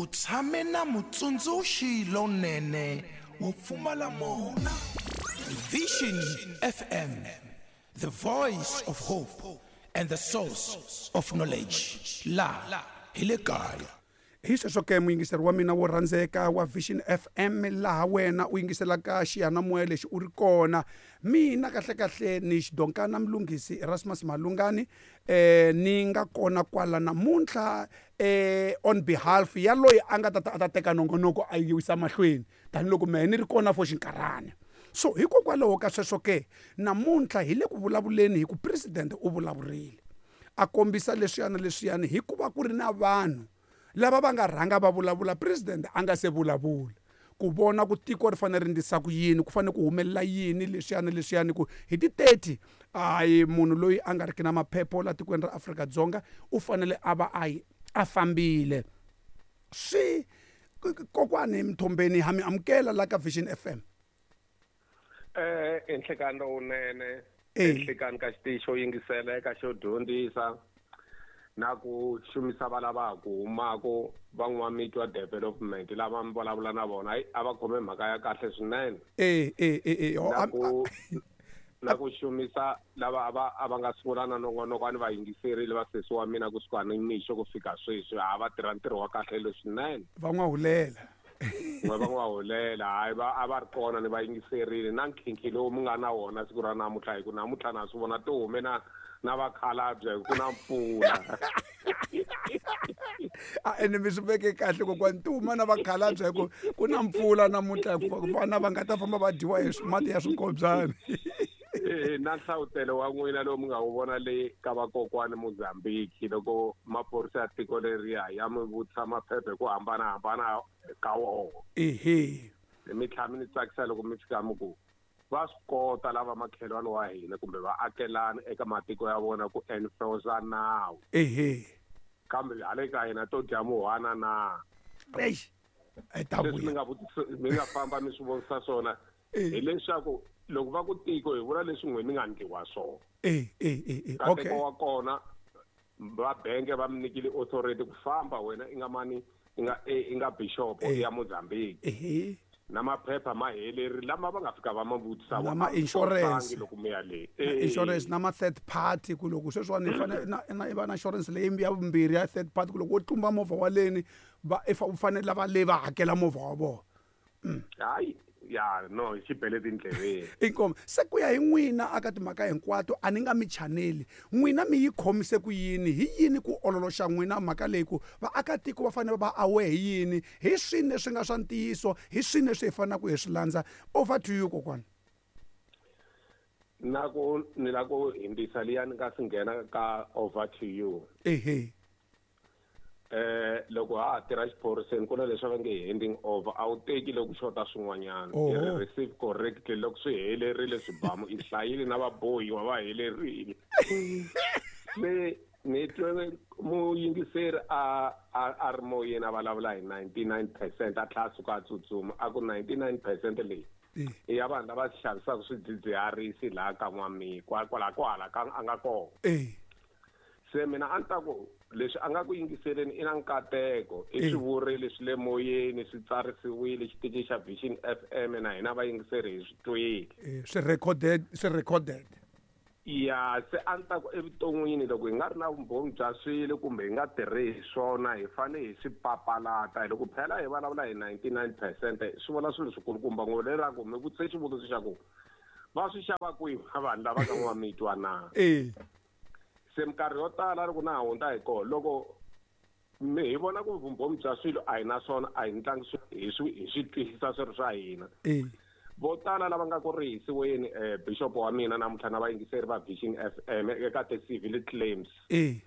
U tshame na mutsundzuxi lonene wo pfumala mona. Vision FM, the voice of hope and the source of knowledge. La hi le kaya. Hi sweswo ke muyingiseri wa mina wo rhandzeka wa Vision FM laha wena u yingiselaka xiyanimoya lexi u ri kona. Mina kahlekahle ni xidonkana Mlunghisi Erasmus Malungani eh ni nga kona kwala namuntlha eh on behalf ya loyi a nga ta ta a ta teka nongonoko a yi yisa mahlweni tanihiloko mehe ni ri kona for xinkarhana. So hikokwalaho ka sweswo ke namuntlha hi le ku vulavuleni hi ku president u vulavurile a kombisa leswiya na leswiyani hikuva ku ri na vanhu lava va nga rhanga va vulavula president a nga se vulavula ku vona ku tiko ri fanele ri ndlisa ku yini ku fanele ku humelela yini leswiya na leswiyani ku hi ti 30 hayi munhu loyi a nga riki na maphepha la tikweni ra Afrika-Dzonga u fanele a va a a fambile swi kokwani Mthombeni ha mi amukela la ka Vision FM. I nhlekani lowunene enhlekani ka xitichi xo yingisela eka xo dyondzisa na ku xumisa va lava ku humaka van'wamitwa development lava mi vulavula na vona a va khome mhaka ya kahle swinene na ku na ku xumisa lava a va a va nga sungula na nongonoko a ni va yingiserile vasesi wa mina kusuka ni mixo ku fika sweswi a va tirha ntirho wa kahle leswinene. Va n'wahulela. N'we va n'wahulela hayi va a va ri kona ni va yingiserile na nkhinkhi lowu mi nga na wona siku ra namuntlha hi ku namuntlha na swi vona ti hume na na vakhalabye hi ku na mpfula. A ene mi swi veke kahle kokwani ti huma na vakhalabye hi ku ku na mpfula namuntlha hikuva vana va nga ta famba va dyiwa hi mati ya swinkobyani. Na nhlavutelo wa n'wina lowu mi nga wu vona le ka vakokwani Mozambique loko maphorisa ya tiko leriya ya mi vutisa maphepha hi ku hambanahambana ka wona. Ehe. Mi tlhela mi ni tsakisa loko mi fika mi ku va swi kota lava makhelwani wa hina kumbe vaakelani eka matiko ya vona ku enforce nawu. Ehe. Kambe hale ka hina to dya muhwana na. Eish. Ai ta Leswi mi nga vutisa mi nga famba mi swi vonisa swona hileswaku loko va ku tiko hi vula leswi n'we mi nga ndliwa swona. Okay. Nkateko wa kona va benge va mi nyikile authority ku famba wena i nga mani i nga i nga bishop ya Mozambique. Na maphepha ma heleri lama va nga fika va ma vutisa Na ma insurance. loko mi ya le. Na insurance na ma third party ku loko sweswiwani i fanele na i va na insurance leyi ya vumbirhi ya third party ku loko wo tlumba movha wa leni va u fanele lava le va hakela movha wa vona. Hayi ya no xi bele tindleveni. Inkomu se ku ya hi n'wina aka timhaka hinkwato a ni nga mi chaneli n'wina mi yi khomise ku yini hi yini ku ololoxa n'wina mhaka leyi ku vaakatiko va fanele va aware hi yini hi swini leswi nga swa ntiyiso hi swini leswi hi fanelaka hi swi landza over to you kokwana. Na ku ni la ku hindzisa liya ni nga si nghena ka over to you. Ehe. Loko ha ha tirha xiphoriseni ku na leswi va nge handing over a wu teki loko xota swin'wanyana i ri receive correctly loko swi helerile swibamu i hlayile na vabohiwa va helerile. Se ni twe muyingiseri a a ri moyeni a vulavula hi 99% a tlhela a suka a tsutsuma a ku 99% leyi i ya vanhu lava xavisaka swidzidziharisi laha ka N'wamikwa kwala kwala ka a nga kona. Se mina a ni ta ku leswi a nga ku yingiseleni i na nkateko i swi vurile swi le moyeni swi tsarisiwile xitichi xa Vision FM na hina vayingiseri hi swi twile. Swi recorded swi recorded. Ya se a ni ta ku evuton'wini loko hi nga ri na vumbhoni bya swilo kumbe hi nga tirhi hi swona hi fanele hi swi papalata loko phela hi vulavula hi 99% swi vula swilo swikulukumba ngopfu leraku mi vutise xivutiso xa ku va swi xava kwihi vanhu lava ka N'wamitwa na. Se minkarhi yo tala loko na ha hundza hi kona loko mi hi vona ku vumbhoni bya swilo a hi na swona a hi ntlangi hi swi hi swi twisisa swi ri swa hina. Vo tala lava nga ku rihisiweni bishop wa mina namuntlha na vayingiseri va Vision FM eka ti-civil claims. Hi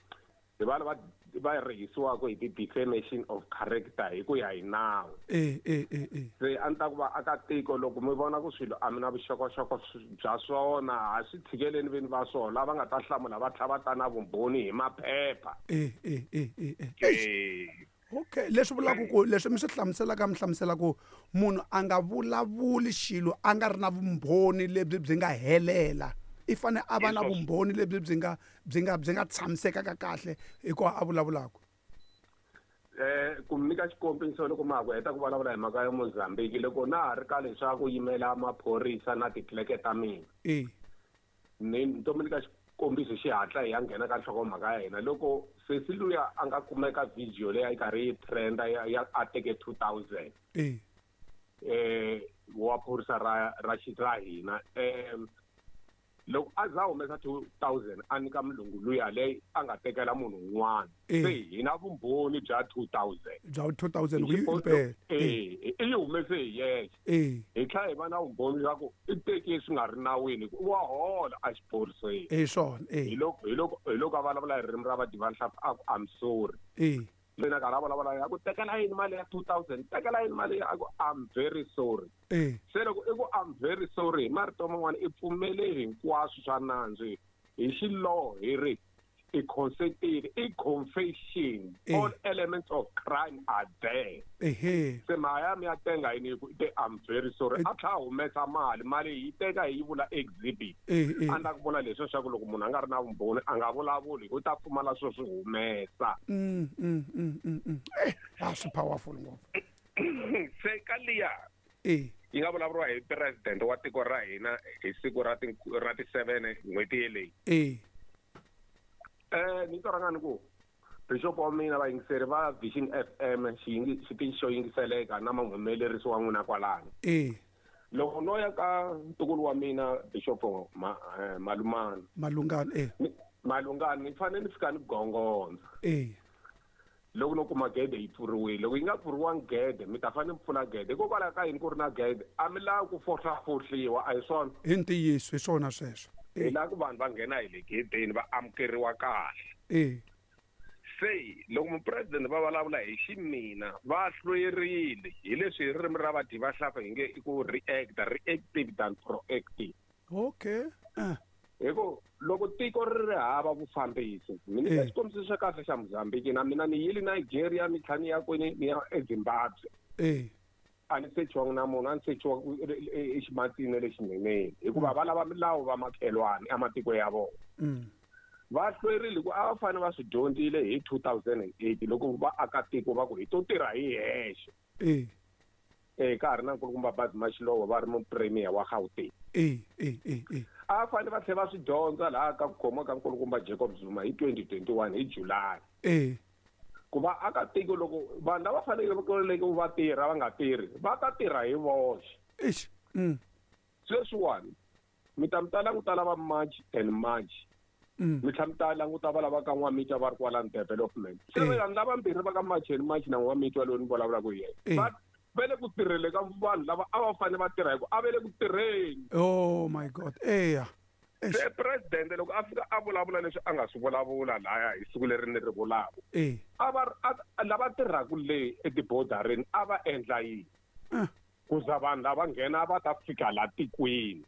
va lava va rihisiwaka hi ti-defamation of character hi ku ya hi nawu. Se a ni ta ku vaakatiko loko mi vona ku swilo a mi na vuxokoxoko bya swona ha swi tshikeleni vini va swona lava nga ta hlamula va tlhela va ta na vumbhoni hi maphepha. Okay leswi vulaka ku leswi mi swi hlamuselaka mi hlamusela ku munhu a nga vulavuli xilo a nga ri na vumbhoni lebyi byi nga helela i fane a va na vumbhoni lebyi byi nga byi nga byi nga tshamisekaka kahle hikuva a vulavulaka. Ku mi nyika xikombiso loko ma ha ku heta ku vulavula hi mhaka ya Mozambique, loko na ha ri ka leswaku yimela maphorisa na titleke ta mina. Ni to mi nyika xikombiso xihatla hi ya nghena ka nhlokomhaka ya hina. Loko sesi luya a nga kumeka video leyi a yi karhi yi trenda ya a teke 2000. Wa phorisa ra hina. Loko a za humesa 2000 a nyika mulungu luya leyi a nga tekela munhu un'wana. Se hina vumbhoni bya 2000. Bya 2000 ku yi impela. I yi humese hi yexe. Hi tlhela hi va na vumbhoni bya ku i teke swi nga ri nawini, wa hola a xiphoriseni. Hi swona, Hi loko a vulavula hi ririmi ra vadivanhlampfi a ku I'm sorry. Mina ka ra vulavula ya ku tekela yini mali ya 2000, tekela yini mali ya ku I'm very sorry. Se loko i ku I'm very sorry hi marito man'wana i pfumele hinkwaswo swa nandzu hi xiloho hi ri i consentile, i confession. All elements of crime are there. Se mhaka ya tenga yini ku te I'm very sorry. A tlhela a humesa mali, mali yi teka hi yi vula exhibit. A ndza ku vula leswi swa ku loko munhu a nga ri na vumbhoni a nga vulavuli, u ta pfumala swo swi humesa. Swi powerful ngopfu. Se ka liya yi nga vulavuriwa hi president wa tiko ra hina hi siku ra ti 7 n'hweti yeleyi. Ni to rhanga ni ku Bishop wa mina vayingiseri va Vision FM xitichi xo yingiseleka na muhumelerisi wa n'wina kwalano. Loko no ya ka ntukulu wa mina Bishop Malumani. Malungani Malungani ni fanele ni fika ni gongondza. Loko no kuma gede yi pfuriwile, loko yi nga pfuriwangi gede mi ta fanele mi pfula gede. Hikokwalaho ka yini ku ri na gede? A mi lavi ku fohlafohliwa, a hi swona? Hi ntiyiso, hi swona sweswo. Hi lava ku vanhu va nghena hi le gedeni va amukeriwa kahle. Se loko mupresidente va vulavula hi ximina va hlwerile hi leswi hi ririmi ra vadyi va hlafa hi nge i ku react, reactive than proactive. Okay. Hi ku loko tiko ri ri hava vufambisi, mi nyika xikombiso xa kahle xa Mozambique, na mina ni yile Nigeria, ni tlhela ni ya kwini, ni ya eZimbabwe. A ni sechiwangi na munhu, a ni sechiwa eximatsini lexineneni, hikuva va lava milawu va makhelwani ematiko ya vona. Va hlwerile ku a va fanele va swi dyondzile hi 2008 loko va aka tiko va ku hi to tirha hi hexe. Ka ha ri na nkulukumba Bazi Mashilowa va ri mupremier wa Gauteng. A va fanele va tlhela va swi dyondza laha ka ku khomiwa ka nkulukumba Jacob Zuma hi 2021 hi July. Ku va aka tiko loko vanhu lava faneleke ku va tirha va nga tirhi, va ta tirha hi voxe. Sweswiwani mi ta mi ta languta lava March and March. Mi tlhela mi ta languta va lava ka N'wamitwa va ri kwalano development. Se vanhu lavambirhi va ka March and March na N'wamitwa loyi ni vulavulaka hi yena. Va le ku tirhele ka vanhu lava a va fanele va tirha hi ku a va le ku tirheni. Oh my God. Eya. Se president loko a fika a vulavula leswi a nga swi vulavula laya hi siku leri ni ri vulaka. A va lava tirhaka le etibodarini a va endla yini? Ku za vanhu lava nghena va ta fika la tikweni.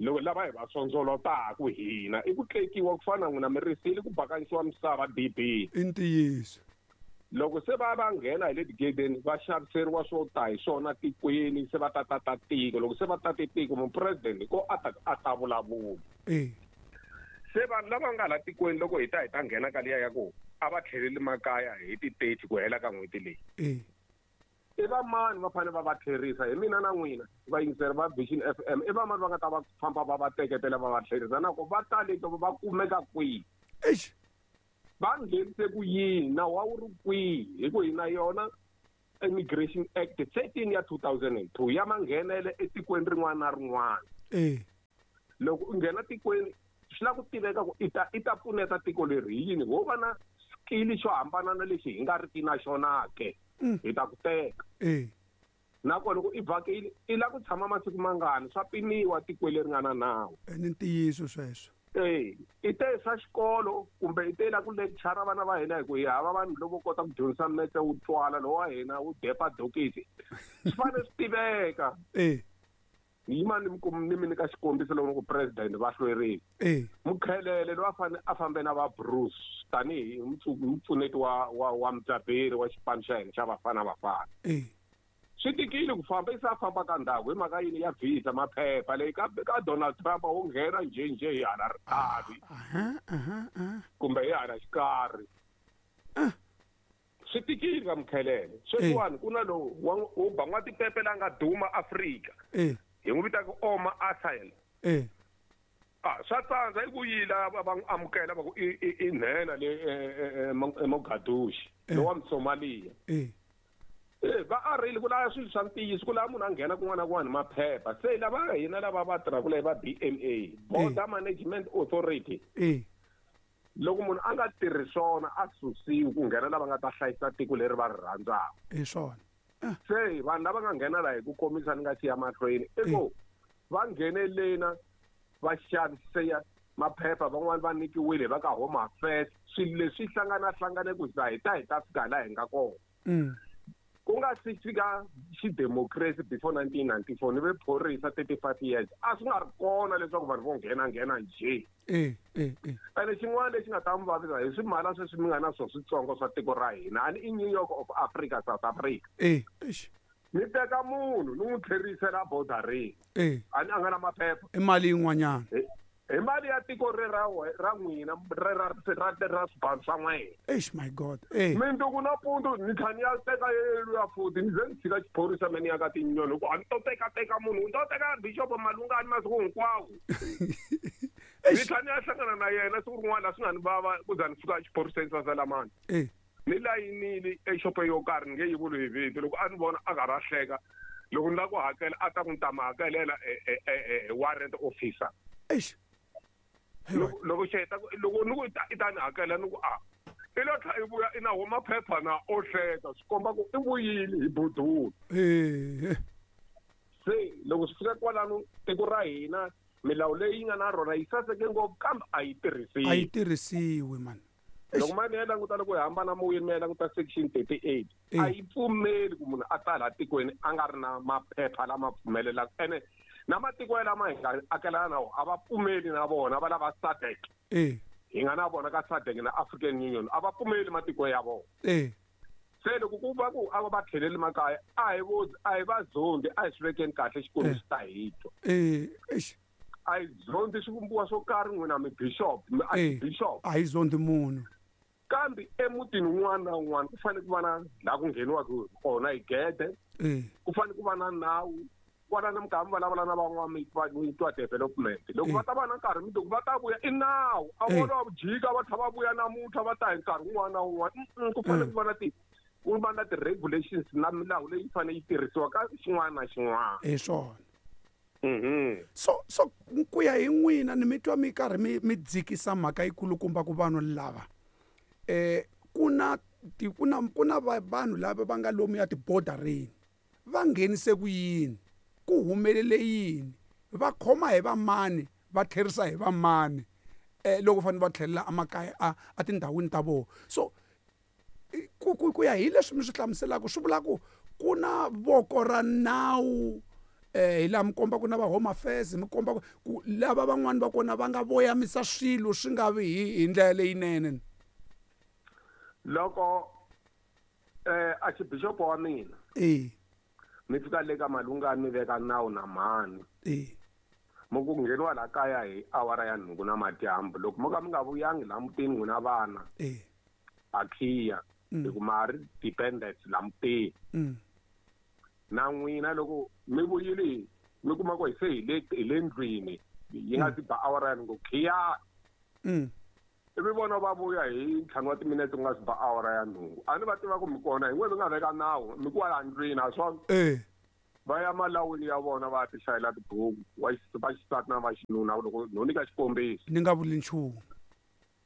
Loko lava hi va sondzolotaka hina i ku tlekiwa ku fana n'wina mi risile ku bakanyisiwa misava DB. I ntiyiso. Loko se va va nghena hi le tigedeni va xaviseriwa swo ta hi swona tikweni, se va ta tata tiko. Loko se va tate tiko mupresidente ko a ta vulavula. Se vanhu lava nga la tikweni loko hi ta nghena ka liya ya ku a va tlheleli makaya hi ti 30 ku hela ka n'hweti leyi. I va mani va fanele va va tlherisa? Hi mina na n'wina vayingiseri va Vision FM, i va mani va nga ta va famba va va teketela va va tlherisa? Na ku va taleke va kumeka kwihi? Va nghenise ku yini? Nawu wa wu ri kwihi? Hi ku hina yona Immigration Act 13 ya 2002 ya manghenele etikweni rin'wana na rin'wana. Loko u nghena tikweni swi lava ku tiveka ku i ta pfuneta tiko leri hi yini? Ho va na skill xo hambana na lexi hi nga riki na xona ke. Hi ta ku teka. Nakona loko i vhakile i lava ku tshama masiku mangani, swa pimiwa tikweni leri nga na nawu. Ni ntiyiso sweswo. I te swa xikolo kumbe i te la ku lecture vana va hina hi ku hi hava vanhu lavo kota ku dyondzisa metse wu twala lowa wa hina wu depa dokisi. Swi fanele swi tiveka. Ni yima ni mi nyika xikombiso loko ku president va hlwerile. Mukhelele loyi a fanele a fambe na va Bruce tanihi mupfuneti wa mudzaberi wa xipano xa hina xa Bafana Bafana. Swi tikile ku famba, i se a famba ka ndhawu hi mhaka yini ya visa maphepha leyi ka Donald Trump wo nghena njhenjhe hi hala ritavi kumbe hi hala xikarhi. Swi tikile ka Mkhelele. Sweswiwani ku na lowu wo ba n'watipepe la nga duma Afrika. Hi n'wi vitaka Oma Asael. Swa tsandza i vuyile va n'wi amukela va ku i nhenha le Mogadishu lowa Msomalia. Va arile ku lava swilo swa ntiyiso, ku lava munhu a nghena kun'wana na kun'wana hi maphepha. Se lava hina lava va tirhaka leyi va BMA, Border Management Authority. Loko munhu a nga tirhi swona a susiwi ku nghena lava nga ta hlayisa tiko leri va ri rhandzaka. Hi swona. Se vanhu lava nga nghena laha hi ku komisa ni nga siya mahlweni i ku va nghenelena va xavise maphepha, van'wani va nyikiwile va ka Home Affairs. Swilo leswi hlanganahlangane ku za hi ta fika laha hi nga kona. Ku nga si fika xidemocracy before 1994 ni ve phorisa 35 years a swi nga ri kona leswaku vanhu vo nghena njhe. Ene xin'wana lexi nga ta mi vavisa hi swimala sweswi mi nga na swo switsongo swa tiko ra hina, ani i New York of Africa, South Africa. Ni teka munhu ni n'wi tlherisela borderini. Ani a nga na maphepha. I mali yin'wanyana. Hi mali ya tiko re ra ra n'wina re ra ra swibalo swa n'wina. Eish my God. Minduku na pundu ni tlhela ni ya teka yeleyo futhi ni ze ni tshika xiphorisa me ni ya ka tinyoni ku a ni to teka munhu, ni to teka Bishop Malungani masiku hinkwawo. Ni tlhela ni ya hlangana na yena siku rin'wana laha swi nga ni vava ku za ni fika exiphoriseni swa Salamani. Ni layinile exopeni yo karhi ni nge yi vuli hi vito, loko a ni vona a karhi a hleka, loko ni lava ku hakela a ta ku ni ta mi hakelela warrant officer. Eish. Loko xi heta loko ni ku i ta ni hakela ni ku a i lo tlha i vuya i na wo maphepha na o hleka, swi komba ku i vuyile hi budula. Se loko swi fika kwalano tiko ra hina milawu leyi yi nga na rona yi saseke ngopfu kambe a yi tirhisiwi. A yi tirhisiwi man. Loko mani ya languta loko hi hambana moyeni mi ya languta section 38 a yi pfumeli ku munhu a ta laha tikweni a nga ri na maphepha lama pfumelelaka, ene na matiko ya lama hi nga akelana na wona a va pfumeli na vona, va lava SADC. Hi nga na vona ka SADC na African Union a va pfumeli matiko ya vona. Se loko ku va ku a va tlheleli makaya a hi a hi va zondi, a hi swi vekeni kahle Xikwembu xi ta hi twa. A hi zondi swivumbiwa swo karhi n'wina mi bishop, mi archbishop. A hi zondi munhu. Kambe emutini wun'wana na wun'wana ku fanele ku va na laha ku ngheniwaka kona hi gede. Ku fanele ku va na nawu. Kwalano mi karhi mi vulavula na van'wamitwa development. Loko va ta va na nkarhi mundzuku va ta vuya i nawu. A vona va jika va tlhela va vuya namuntlha va ta hi nkarhi wun'wana na wun'wana. Ku fanele ku va na ti ku va na ti-regulations na milawu leyi fanele yi tirhisiwa ka xin'wana na xin'wana. Hi swona. So ku ya hi n'wina ni mi twa mi karhi mi dzikisa mhaka yikulukumba ku vanhu lava ku na ku na vanhu lava va nga lomu ya tibodarini va nghenise ku yini, ku humelele yini, va khoma hi vamani, va tlherisa hi vamani loko fanele va tlhelela emakaya a tindhawini ta vona. So ku ya hi leswi mi swi hlamuselaka swi vula ku ku na voko ra nawu hi laha mi komba ku na va Home Affairs, mi komba ku lava van'wani va kona va nga voyamisa swilo swi nga vi hi ndlela leyinene. Loko archbishop wa mina mi fika le ka Malungani mi veka nawu na mhani. Mo ku ngheniwa laha kaya hi awara ya 8 na madyambu, loko mo ka mi nga vuyangi laha mutini n'wina vana a khiya hi ku ma ri dependent laha mutini. Na n'wina loko mi vuyile mi kuma ku hi se hi le ndlwini yi nga si ba awara ya 8 khiya. Ivi vona va vuya hi 5 wa timinetse ku nga si ba awara ya 8. A ni va tiva ku mi kona hi n'we mi nga veka nawu mi ku wala ndlwini a swona. Va ya malawini ya vona va ya ti hlayela tibuku va xisati na va xinuna loko no nyika xikombiso. Ni nga vuli nchumu.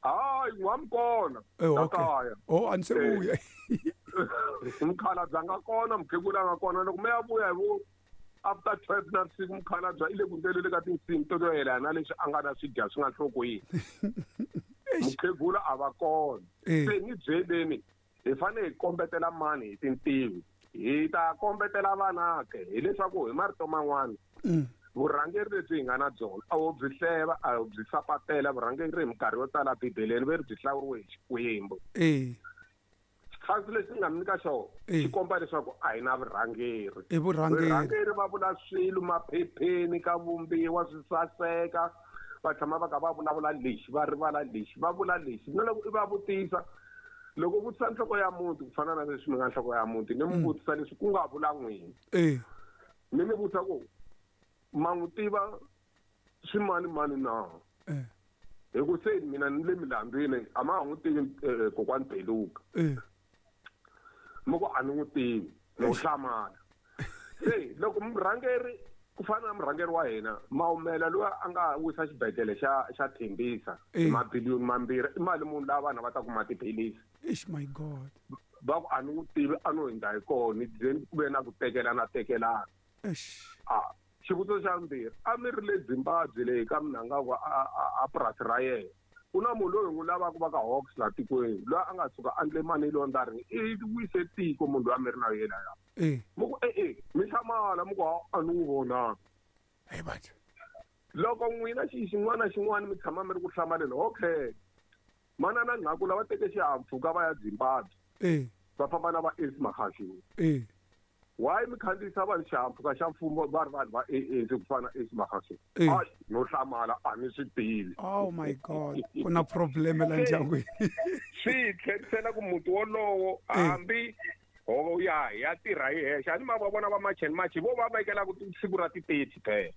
Hayi n'wa mi kona. Okay. Oh, a ni se vuya. Mukhalabye a nga kona, mukhegula a nga kona. Loko mi ya vuya hi vo after 12 na vusiku mukhalabye i le ku ndleleni ka tinsimu to yelana na leswi a nga na swi dya swi nga nhlokweni. Mukhegula a va kona. Se ni byeleni hi fanele hi kombetela mani hi tintiho, hi ta kombetela vanake hileswaku hi marito man'wana vurhangeri lebyi hi nga na byona a wo byi hleva, a wo byi sapatela. Vurhangeri hi minkarhi yo tala Bibeleni ve ri byi hlawuriwe hi Xikwembu. Xitlhansi lexi nga mi nyika xona xi komba leswaku a hi na vurhangeri. I vurhangeri. Vurhangeri va vula swilo maphepheni ka vumbiwa swi saseka, va tshama va kha va vulavula lexi, va rivala lexi, va vula lexi. Na loko i va vutisa Loko u vutisa nhloko ya muti ku fana na leswi mi nga nhloko ya muti ni mi vutisa leswi ku nga vula n'wina. Ni mi vutisa ku ma n'wi tiva swimani mani na? Hi ku se mina ni le milandzwini a ma ha n'wi tivi kokwani Beluka. Mi ku a ni n'wi tivi no hlamala. Se loko murhangeri ku fana na murhangeri wa hina Maumela loyi a nga wisa xibedhlele xa Thembisa mabiliyoni mambirhi i mali munhu laha vanhu va ta kuma tiphilisi. Ish my God. Va ku a ni n'wi tivi a no hundza hi kona ni ze ku ve na ku tekelana tekelana. Eish. Xivutiso xa vumbirhi a mi ri le Zimbabwe leyi ka Mnangagwa a purasi ra yena ku na munhu loyi n'wi lavaka va ka Hawks laha tikweni loyi a nga suka a endle mali laundering i wise tiko munhu loyi a mi ri na yena ya. Mi ku mi hlamala mi ku a ni n'wi vonanga. Hey batho. Loko n'wina xi xin'wana na xin'wana mi tshama mi ri ku hlamaleni okay. Manana Nqakula va teke xihahampfhuka va ya Zimbabwe. Va famba na va Ace Magashule. Why mi khandziyisa vanhu xihahampfhuka xa mfumo va ri vanhu va ANC ku fana na Ace Magashule? Hayi no hlamala a ni swi tivi. Oh my God, ku na problem la ndyangwini. Swi tlherisela ku muti wolowo hambi ho ya tirha hi hexe a ni ma va vona va March and March vo va vekela ku siku ra ti-30 phela.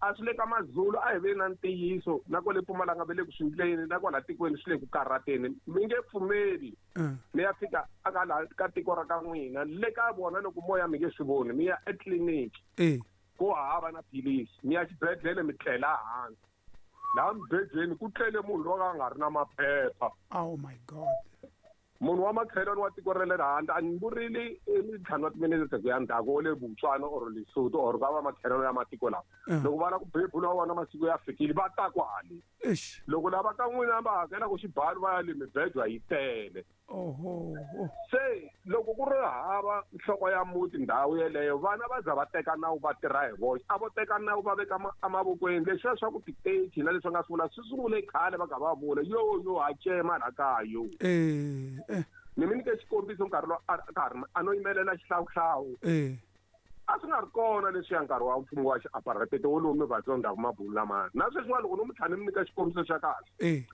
A swi le ka Mazulu a hi ve na ntiyiso na kwale Mpumalanga ve le ku swi ndleni na kwala tikweni swi le ku karhateni mi nge pfumeli. Mi ya fika aka la ka tiko ra ka n'wina le ka vona loko moya mi nge swi voni mi ya etliliniki ku hava na philisi mi ya xibedhlele mi tlela hansi laha mibedweni ku tlele munhu loyi a nga ri na maphepha. Oh my God. Munhu wa makhelwani wa tiko ra le handle a ni vurile ntlhanu wa timinete ku ya ndzhaku wa le Botswana or Lesotho or ka va makhelwani ya matiko lawa. Loko va lava ku bebula wa vona masiku ya fikile va ta kwale. Loko lava ka n'wina va hakelaka xibalo va ya le mibedwa yi tele. Se loko ku ri hava nhloko ya muti ndhawu yeleyo vana va za va teka nawu va tirha hi voxe a vo teka nawu va veka emavokweni leswiya swa ku titeji na leswi nga swi vula swi sungule khale va ka va vula yo yo ha cema la kaya yo. Ni mi nyike xikombiso nkarhi lowu a ka ha ri a no yimelela xihlawuhlawu. A swi nga ri kona leswiya nkarhi wa mfumo wa xiapartheid wolowo mi va tsonda mabulu lamaya na sweswiwa loko no mi tlhela ni mi nyika xikombiso xa kahle.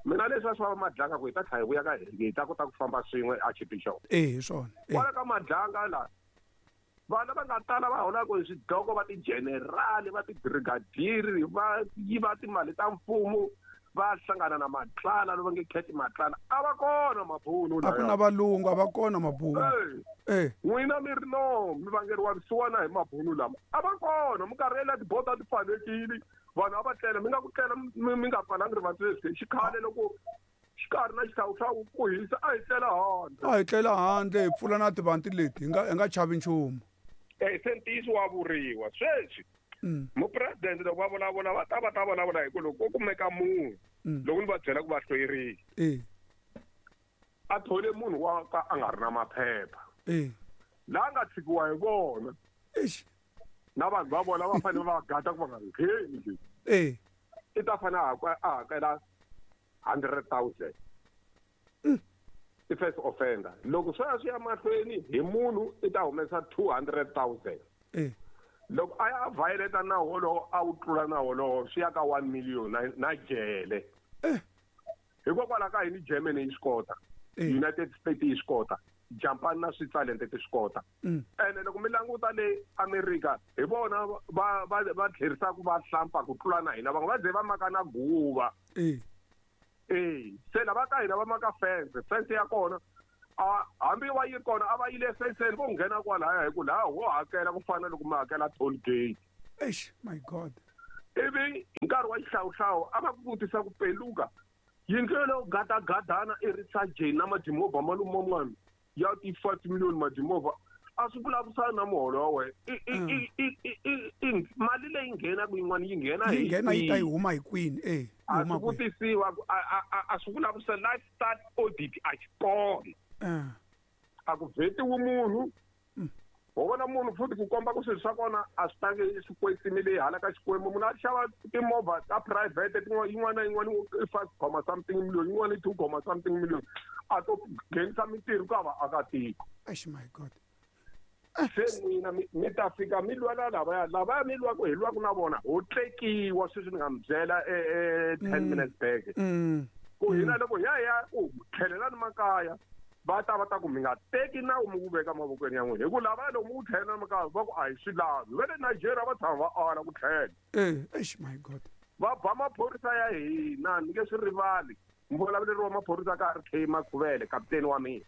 Mina leswi swa Madlanga ku hi ta tlhela hi vuya ka hi ta kota ku famba swin'we archbishop. Hi swona. Kwala ka Madlanga la vana va nga tala va holaka hi swidloko va ti-general va ti-brigadier va yiva timali ta mfumo va hlangana na Matlala lava nge Cat Matlala a va kona mabunu a ku na valungu a va kona mabunu. N'wina mi ri no mi vangeriwa vusiwana hi mabunu lama a va kona minkarhi yeleyo tiboda ti pfalekile vanhu a va tlela mi nga ku tlela mi nga pfalanga rivanti leswi xikhale loko xikarhi na xihlawuhlawu ku hisa a hi tlela handle. A hi tlela handle hi pfula na tivanti leti hi nga chavi nchumu. Se ntiyiso wa vuriwa sweswi. Mupresidente loko va vulavula va ta vulavula hi ku loko ko kumeka munhu loko ni va byela ku va hlwerile. A thole munhu wa ka a nga ri na maphepha. Laha nga tshikiwa hi vona. Na vanhu va vona va fanele va gada ku va nga ngheni. I ta fanele a hakela 100,000. I first offender. Loko swi ya swi ya mahlweni hi munhu i ta humesa 200,000. Loko a ya violate nawu wolowo a wu tlula nawu wolowo swi ya ka 1 million na jele. Hikokwalaho ka yini Germany yi swi kota, United States yi swi kota, Japan na Switzerland ti swi kota. Ene loko mi languta le America hi vona va tlherisaka va hlampa ku tlula na hina van'we va ze va maka na guva. Se lava ka hina va maka fence ya kona hambi wa yi kona a va yile fenceni vo nghena kwalaya hi ku laha ho hakela ku fana loko mi hakela toll gate. Eish my God. Ivi nkarhi wa xihlawuhlawu a va ku vutisa ku peluka yindlu yoleyo gadagadana i ri sajeni na madimovha maluman'wana ya ti-5 million madimovha a swi vulavurisana na muholo wa wena. Mali leyi nghenaka yin'wana yi nghena yi nghena yi ta yi huma hi kwini. A swi vutisiwa a swi vulavurisa lifestyle audit a xi kona. A ku vhetiwi munhu ho vona munhu futhi ku komba ku swilo swa kona a swi tangi swi kwetsimile hala ka Xikwembu. Munhu a xava timovha ta private yin'wana na yin'wana i 5 something million yin'wana i 2 something million a to nghenisa mintirho ka vaakatiko. Eish my God. Se n'wina mi ta fika mi lwela lavaya mi lwaku hi lwaku na vona ho tlekiwa sweswi ni nga mi byela 10 minutes back. Ku hina loko hi ya ku tlhelelani makaya va ta va ta ku mi nga teki nawu mi wu veka mavokweni ya n'wina hi ku lava loko mi wu tlhelela makaya va ku a hi swi lavi. Va le Nigeria va tshama va ala ku tlhela. Eish my God. Va ba maphorisa ya hina ni nge swi rivali. Muvulavuleri wa maphorisa ka RK Makhuvele kaputeni wa mina.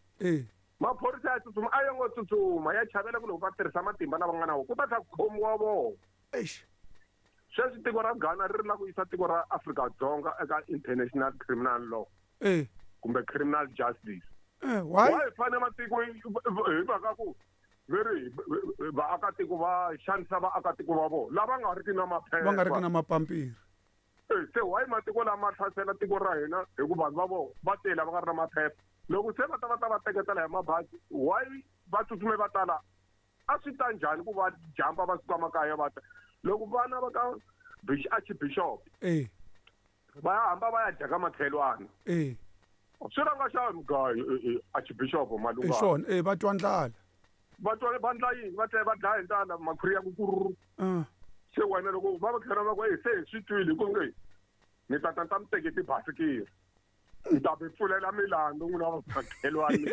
Maphorisa ya tsutsuma a yo ngo tsutsuma ya chavela ku loko va tirhisa matimba lava nga na wona ku ta tlha ku khomiwa vona. Eish. Sweswi tiko ra Ghana ri ri la ku yisa tiko ra Afrika-Dzonga eka international criminal law. Kumbe criminal justice. Why? Why fane matiko hi mhaka ku veri vaakatiko va xanisa vaakatiko va vona lava nga riki na maphepha. Va nga riki na mapampiri. Se why matiko lama hlasela tiko ra hina hi ku vanhu va vona va tele va nga ri na maphepha. Loko se va ta va ta va teketela hi mabazi why va tsutsume va tala? A swi ta njhani ku va jumpa va suka makaya va ta? Loko vana va ka Archbishop va ya hamba va ya dya ka makhelwani. Swi rhanga xa mugayo Archbishop Malungana. Hi swona, va twa ndlala. Va twa va ndla yini? Va tlhela va dlaya hi ndlala makhwiri ya ku kururu. Se wena loko va va tlhela va ku se hi swi twile ku nge ni ta ta ta mi teke tibasikiri. Ni ta mi pfulela milandzu n'wina va makhelwani.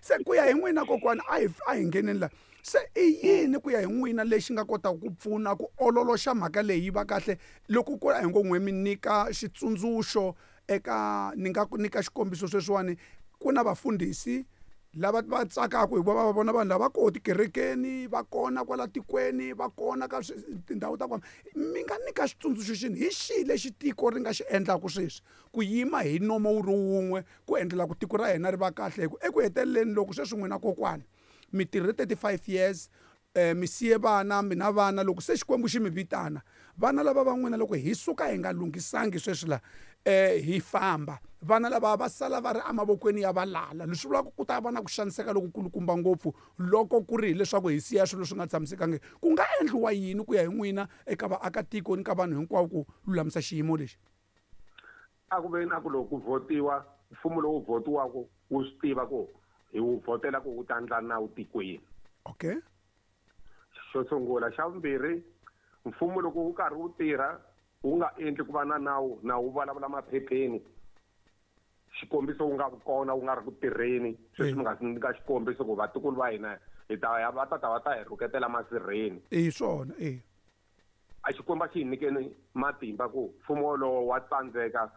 Se ku ya hi n'wina kokwana a hi ngheneni la. Se i yini ku ya hi n'wina lexi nga kotaka ku pfuna ku ololoxa mhaka leyi va kahle loko ku a hi ngo n'we mi nyika xitsundzuxo eka ni nga ku nyika xikombiso sweswiwani ku na vafundhisi lava va tsakaka hikuva va vona vanhu lava koho tikerekeni va kona kwala tikweni va kona ka tindhawu ta kona. Mi nga nyika xitsundzuxo xini hi xihi lexi tiko ri nga xi endlaka sweswi ku yima hi nomo wu ri wun'we ku endlela ku tiko ra hina ri va kahle hi ku eku heteleleni loko sweswi n'wina kokwana mi tirhe 35 years mi siye vana mi na vana loko se Xikwembu xi mi vitana vana lava va n'wina loko hi suka hi nga lunghisangi sweswi la hi famba vana lava va sala va ri emavokweni ya valala leswi vulaka ku ta va na ku xaniseka lokukulukumba ngopfu loko ku ri hileswaku hi siya swilo swi nga tshamisekangi. Ku nga endliwa yini ku ya hi n'wina eka vaakatiko ni ka vanhu hinkwavo ku lulamisa xiyimo lexi? A ku veni a ku loko ku votiwa mfumo lowu votiwaka wu swi tiva ku hi wu vhotela ku wu ta ndla nawu tikweni. Okay. Xo sungula. Xa vumbirhi, mfumo loko wu karhi wu tirha wu nga endli ku va na nawu na wu vulavula maphepheni xikombiso wu nga vi kona wu nga ri ku tirheni sweswi mi nga nyika xikombiso ku vatukulu va hina hi ta ya va tata va ta hi rhuketela masirheni. I swona A Xikwembu xi hi nyikeni matimba ku mfumo wolowo wa tsandzeka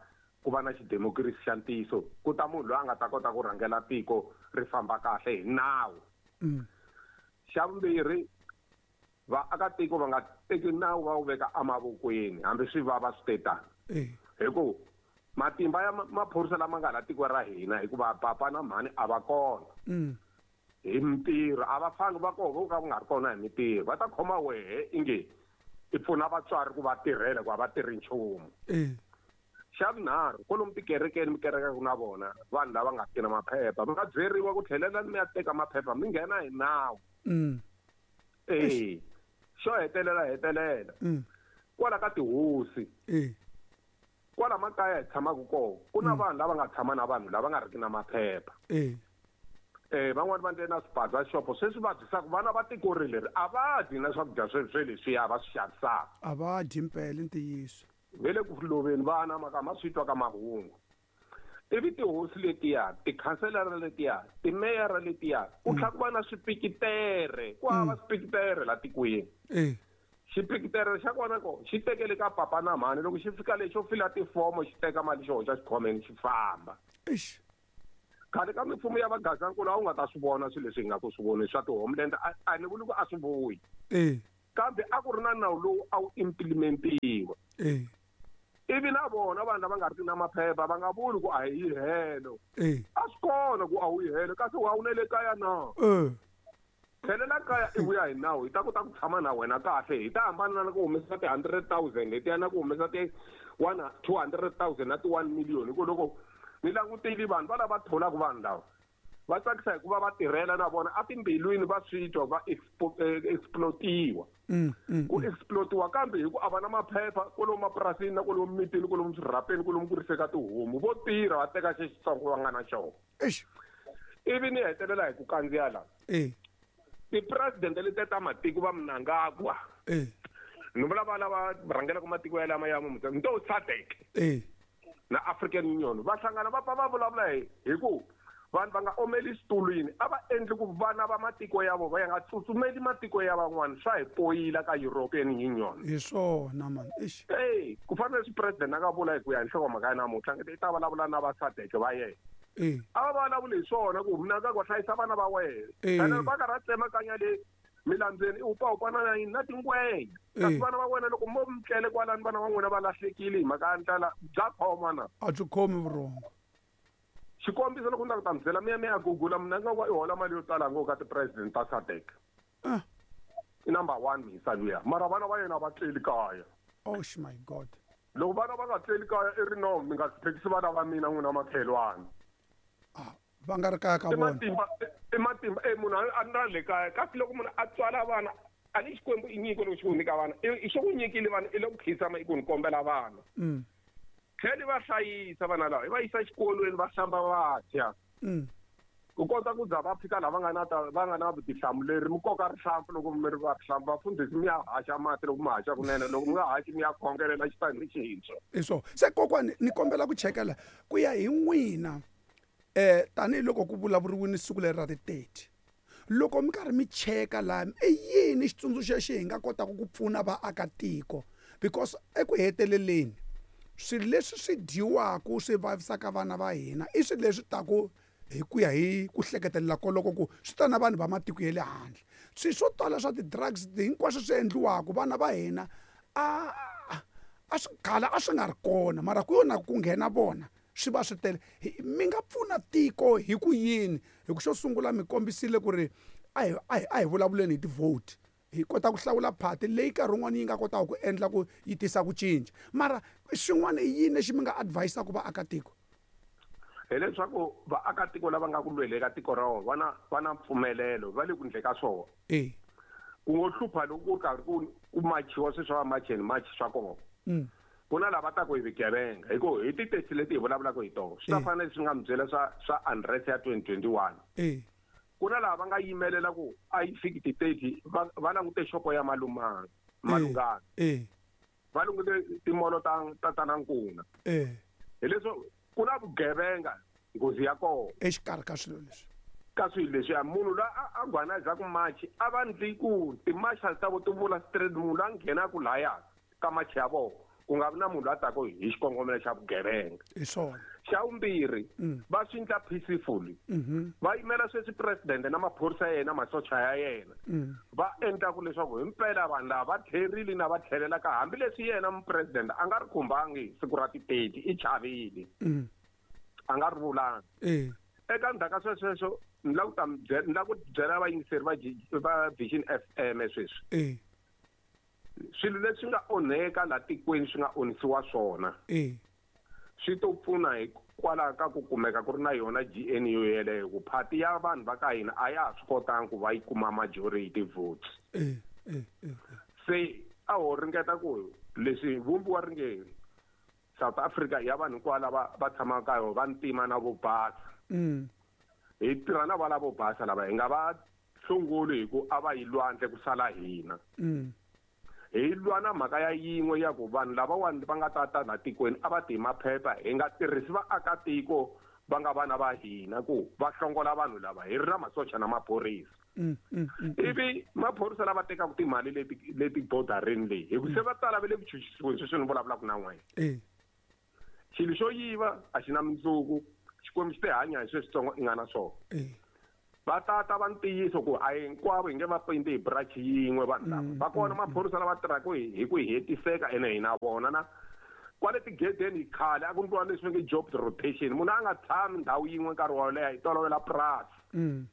ku va na xidemokirasi xa ntiyiso ku ta munhu loyi a nga ta kota ku rhangela tiko ri famba kahle hi nawu. Xa vumbirhi, vaakatiko va nga teki nawu va wu veka emavokweni hambi swi vava swi te tani. Hi ku matimba ya maphorisa lama nga la tiko ra hina hikuva papa na mhani a va kona. Hi mintirho a va fani va koho vo ka ku nga ri kona hi mintirho va ta khoma wehe inge i pfuna vatswari ku va tirhela ku a va tirhi nchumu. Xa vunharhu kwalomu tikerekeni mi kerekaka na vona vanhu lava nga tina maphepha mi nga byeriwa ku tlhelelani mi ya teka maphepha mi nghena hi nawu. Xo hetelela kwala ka tihosi kwala makaya hi tshamaka kona ku na vanhu lava nga tshama na vanhu lava nga riki na maphepha. Van'wani va ndle na swibaza xopo sweswi va dyisaka vana va tiko ri leri a va dyi na swakudya sweswo leswiya va swi xavisaka. A va dyi mpela ntiyiso. Ve le ku loveni vana maka ma swi twa ka mahungu. Ivi tihosi letiya, tikhanselara letiya, timeyara letiya, ku tlhela ku va na swipikitere, ku hava swipikitere la tikweni. Xipikitere xa kona ko xi tekele ka papa na mhani loko xi fika le xo fila tifomo xi teka mali xi hoxa xikhwameni xi famba. Eish. Khale ka mimfumo ya vagazankulu a wu nga ta swi vona swilo leswi hi nga ku swi voni swa ti-homeland a ni vuli ku a swi vuyi. Kambe a ku ri na nawu lowu a wu implementiwa. Ivi na vona vanhu lava nga riki na maphepha va nga vuli ku a hi yi helo. A swi kona ku a wu yi helo kasi wa wu na le kaya na. Tlhelela kaya i vuya hi nawu hi ta kota ku tshama na wena kahle hi ta hambana na ku humesa ti-100,000 letiya na ku humesa ti 200,000 na ti-1 million hi ku loko ni langutile vanhu va lava tholaka vanhu lava va tsakisa hikuva va tirhela na vona etimbilwini va swi twa va explotiwa. Ku explotiwa kambe hi ku a va na maphepha kwalomu mapurasini na kwalomu mitini kwalomu swirhapeni kwalomu ku riseka tihomu vo tirha va teka xexitsongo va nga na xona. Ivi ni hetelela hi ku kandziya la. Ti-president letiya ta matiko va Mnangagwa. Ni vula va lava rhangelaka matiko ya lama ya ni to SADC. Na African Union va hlangana va pfa va vulavula hi ku vanhu va nga omeli xitulwini, a va endli ku vana va matiko ya vona va ya nga tsutsumeli matiko ya van'wana, swa hi poyila ka European Union. Hi swona man. Eish. Ey, ku fana leswi president a nga vula hi ku ya hi nhlokomhaka ya namuntlha, i ta vulavula na va SADC va yena. A va vulavuli hi swona ku mina ka ku hlayisa vana va wena. Kana va karhi a tsemakanya le milandzeni i hupahupana na yini na tingwenya. Kasi vana va wena loko mo mi tlele kwalani vana va n'wina va lahlekile hi mhaka ya ndlala, bya khoma na. A byi khomi vurhongo. Xikombiso loko ni ta ku ta mi byela mi ya mi ya Google, mina nga ku i hola mali yo tala ngopfu ka ti-president ta SADC. I number 1 mhisa luya. Mara vana va yena va tleli kaya. Oh my God. Loko vana va nga tleli kaya i ri no, mi nga hluphekisi vana va mina n'wina makhelwani. Va nga ri kaya ka vona. I matimba, munhu a na le kaya. Kasi loko munhu a tswala vana, a ni Xikwembu i nyiko loko xi ku nyika vana. I xi ku nyikile vana, i le ku khinsama i ku ni kombela vana. Tlhela va hlayisa vana lava, i va yisa exikolweni va hlamba va dya. Ku kota ku za va fika laha va nga na ta, va nga na vutihlamuleri, mi koka rihlampfu loko mi ri va rihlampfu, vafundhisi mi ya haxa mati loko mi haxa kunene, loko mi nga haxi mi ya khongelela xitandi xintshwa. Hi swona. Se kokwani ni kombela ku chekela ku ya hi n'wina, tanihiloko ku vulavuriwile siku leri ra ti 30, loko mi karhi mi cheka laha, i yini xitsundzuxo lexi hi nga kotaka ku pfuna vaakatiko? Because eku heteleleni swilo leswi swi dyiwaka swi vavisaka vana va hina i swilo leswi taku hi ku ya hi ku hleketelela koloko ku swi ta na vanhu va matiko ya le handle. Swilo swo tala swa ti-drugs hinkwaswo swi endliwaka vana va hina a swi khala a swi nga ri kona, mara ku yo na ku nghena vona swi va swi tele. Mi nga pfuna tiko hi ku yini? Hi ku xo sungula mi kombisile ku ri a hi vulavuleni hi ti-vote, hi kota ku hlawula party leyi nkarhi wun'wani yi nga kotaka ku endla ku yi tisa ku cinca. Mara xin'wana i yini lexi mi nga advise-aka vaakatiko? Hileswaku vaakatiko lava nga ku lweleni ka tiko ra vona va na mpfumelelo, va le ku endleni ka swona. Ku ngo hlupha loko ku karhi ku machiwa sweswi swa march and march swa kona. Ku na lava taka hi vugevenga, hi ku hi ti-taxi leti hi vulavulaka hi tona. Swi ta fana leswi nga mi byela swa unrest ya 2021. Ku na lava va nga yimelela ku a yi fiki ti-30, va langute xopo ya Malungana. Va langute timolo ta Tatana Nkuna. Hileswo ku na vugevenga nghozi ya kona. Exikarhi ka swilo leswi. Ka swilo leswi, munhu loyi a gwanazaku machi, a va ndli ku ti-marshal ta vo ti vula straight, munhu loyi a nghenaku laya ka machi ya vona, ku nga vi na munhu loyi a taka hi xikongomelo xa vugevenga. Hi swona. Xa vumbirhi, va swi endla peacefully. Va yimela sweswi president na maphorisa ya yena, masocha ya yena. Va endla ku leswaku himpela vanhu lava va tlherile na va tlhelela ka, hambileswi yena mupresident a nga ri khumbangi siku ra ti-30, i chavile. A nga ri vulanga. Eka ndzhaku ka sweswo, ni lava ku ta mi byela, ni lava ku byela vayingiseri va Vision FM sweswi. Swilo leswi nga onheka laha tikweni swi nga onhisiwa swona. Swi to pfuna hikwalaho ka ku kumeka ku ri na yona GNU yeleyo, ku party ya vanhu va ka hina a ya ha swi kotangi ku va yi kuma majority votes. Se a ho ringeta ku leswi vumbiwa ri nge South Africa ya vanhu hinkwavo lava va tshamaka ka yona, va ntima na vo basa. Hi tirha na va lavo basa lava, hi nga va hlongoli hi ku a va yi lwandle ku sala hina. Hi lwa na mhaka ya yin'we ya ku vanhu lavawani va nga ta ta laha tikweni a va ti hi maphepha, hi nga tirhisi vaakatiko va nga vana va hina ku va hlongola vanhu lava, hi ri na masocha na maphorisa. Ivi maphorisa lava tekaka timali leti bodarini leyi, hi ku se va tala va le ku chuchisiweni sweswi ni vulavulaka na n'wina. Xilo xo yiva a xi na mundzuku, Xikwembu xi te hanya hi sweswitsongo i nga na swona. Va tata va ntiyiso ku a hinkwavo hi nge va pindi hi brush yin'we vanhu lava. Va kona maphorisa lava tirhaka hi ku hetiseka ene hi na vona na kwale tigedeni khale a ku ndliwa leswi nge job rotation, munhu a nga tshami ndhawu yin'we nkarhi wo leha, hi tolovela purasi.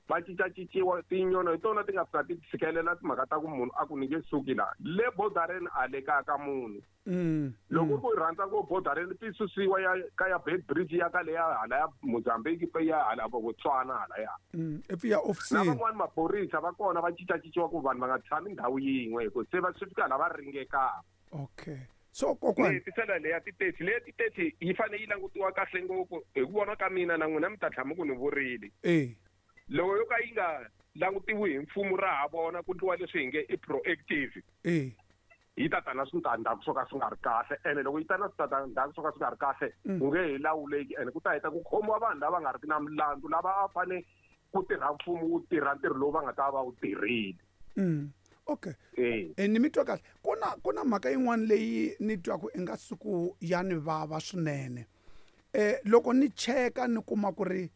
Va cincacinciwa tinyono hi tona ti nga fika ti tshikelela timhaka ta ku munhu a ku ni nge suki laha. Le bodareni a le kaya ka munhu. Loko ku rhandza ku bodareni ti susiwa ya ka ya Beit Bridge ya ka leya hala ya Mozambique pe ya hala Botswana hala ya. I pfi ya ofisini. Na van'wani maphorisa va kona va cincacinciwa ku vanhu va nga tshami ndhawu yin'we hi ku se va swi fika laha va ringekaka. Okay. So kokwani Ni hetisela leya ti-30, leya ti-30 yi fanele yi langutiwa kahle ngopfu hi ku vona ka mina na n'wina mi ta tlhela mi ku ni vurile. Loko yo ka yi nga langutiwi hi mfumo ra ha vona ku ndliwa leswi hi nge i proactive. Yi ta ta na switandzhaku swo ka swi nga ri kahle, ene loko yi ta na switandzhaku swo ka swi nga ri kahle ku nge he lawuleki, ene ku ta heta ku khomiwa vanhu lava nga ri ki na milandzu, lava a fane ku tirha mfumo wu tirha ntirho lowu va nga ta va wu tirhile. Okay, ni mi twa kahle. Ku na mhaka yin'wana leyi ni twaku i nga siku ya ni vava swinene. Loko ni cheka ni kuma ku ri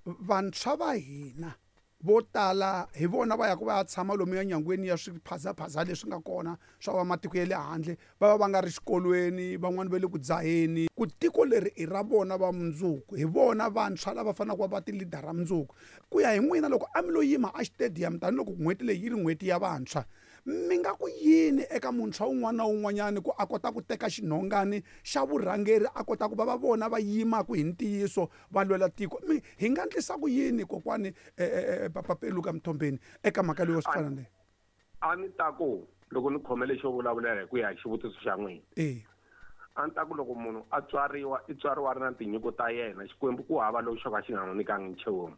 vantshwa va hina vo tala hi vona va yaka va ya tshama lomuya nyangweni ya swiphazaphaza leswi nga kona swa va matiko ya le handle, va va va nga ri xikolweni, van'wani va le ku dzaheni, ku tiko leri i ra vona va mundzuku, hi vona vantshwa lava faneleke va va ti-leader mundzuku. Ku ya hi n'wina, loko a mi lo yima a xitediyamu, tanihiloko n'hweti leyi yi ri n'hweti ya vantshwa, mi nga ku yini eka muntshwa wun'wana na wun'wanyani ku a kota ku teka xinhongani xa vurhangeri, a kota ku va va vona va yimaka hi ntiyiso va lwela tiko? Mi hi nga endlisa ku yini, kokwani Papa Peluka Mthombeni, eka mhaka leyo swi fana leyi? A ni ta ku loko ni khomele xo vulavulela hi ku ya hi xivutiso xa n'wina, a ni ta ku loko munhu a tswariwa, i tswariwa a ri na tinyiko ta yena. Xikwembu ku hava lowu xo ka xi nga n'wi nyikangi nchumu.